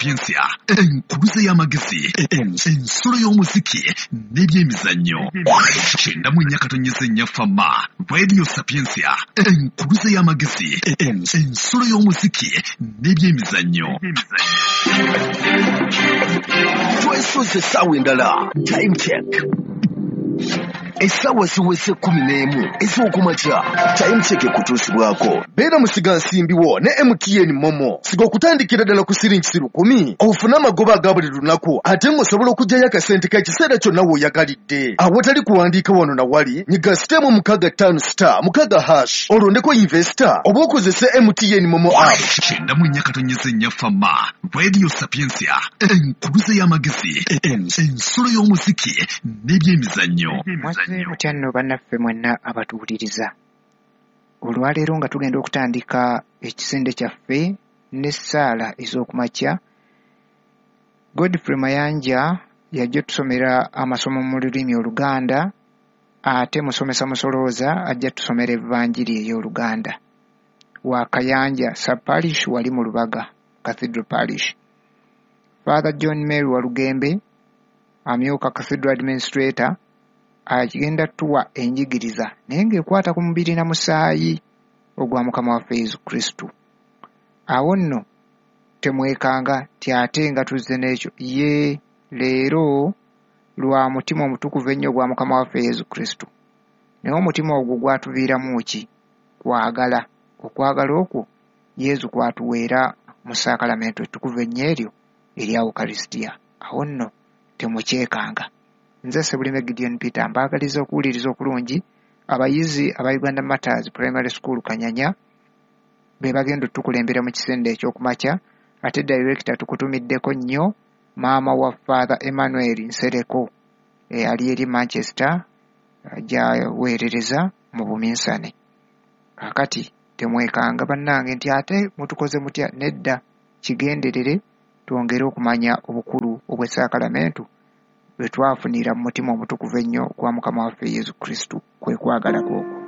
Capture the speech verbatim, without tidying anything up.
Sapientia, enkuluze y'amagezi, ensulo y'omuziki n'ebyemizannyo. Kyenda mu nnya katonnyeze nnya Fama. Radio Sapientia, enkuluze y'amagezi, ensulo y'omuziki n'ebyemizannyo. Twesoze essaawa endala. Time check. Essaawa ziweze kkumi n'emu ez'okumakya. Time check ekutuusibwako. Beera musigansimbi wo ne M T N Momo. Siga okutandikira ddala ku siringi lukumi ofune amagoba aga buli lunaku, ate ng'osobola okuggyayo akasente k'ekiseera kyonna w'oyagalidde. Awatali kuwandiika wano na wali, nyiga sitemu mukaaga ttaano star mukaaga hash olondeko investor oba okozese M T N Momo app. Kyenda mu nnya katonnyeze nnya Fama. Radio Sapientia, enkuluze y'amagezi, ensulo y'omuziki n'ebyemizannyo. Mutya nno bannaffe mwenna abatuwuliriza. Olwaleero nga tugenda okutandika ekisinde kyaffe n'essaala ez'okumakya, Godfrey Mayanja yajja otusomera amasomo mu lulimi Oluganda, ate musomesa musolooza ajja tusomera Evanjiri ey'Oluganda. Wa Kayanja Sub-Parish wali mu Lubaga Cathedral Parish. Father John Mary Walugembe amyuka Cathedral Administrator agenda tuwa enjigiriza naye ng'ekwata ku mubiri na musaayi ogwa Mukama waffe Yesu Kristo. Awo nno temwekanga ti ate nga tuzze n'ekyo ye leero lwa mutima omutukuvu ennyo ogwa Mukama waffe Yesu Kristo. Naye omutima ogwo gwatuviiramu ki? Kwagala. Okwagala okwo Yesu kwatuweera mu saakalamentu ettukuvu ennyo eryo erya Ukaristia. Awo nno temukyekanga. Nze Ssebulime Gideon Peter mbaagaliza okuwuliriza okulungi. Abayizi aba Uganda Martyrs Primary School Kanyanya be bagenda otukulembera mu kisinde eky'okumakya, ate director tukutumiddeko nnyo maama wa Father Emmanuel Nsereko eyali eri Manchester gy'aweerereza mu buminsane. Kaakati temwekanga bannange nti ate mutukoze mutya, nedda, kigenderere twongere okumanya obukulu obw'essaakalamentu bwe twafunira mu mutima omutukuvu ennyo ogwa Mukama waffe Yesu Kristo, kwe kwagala kwokwo.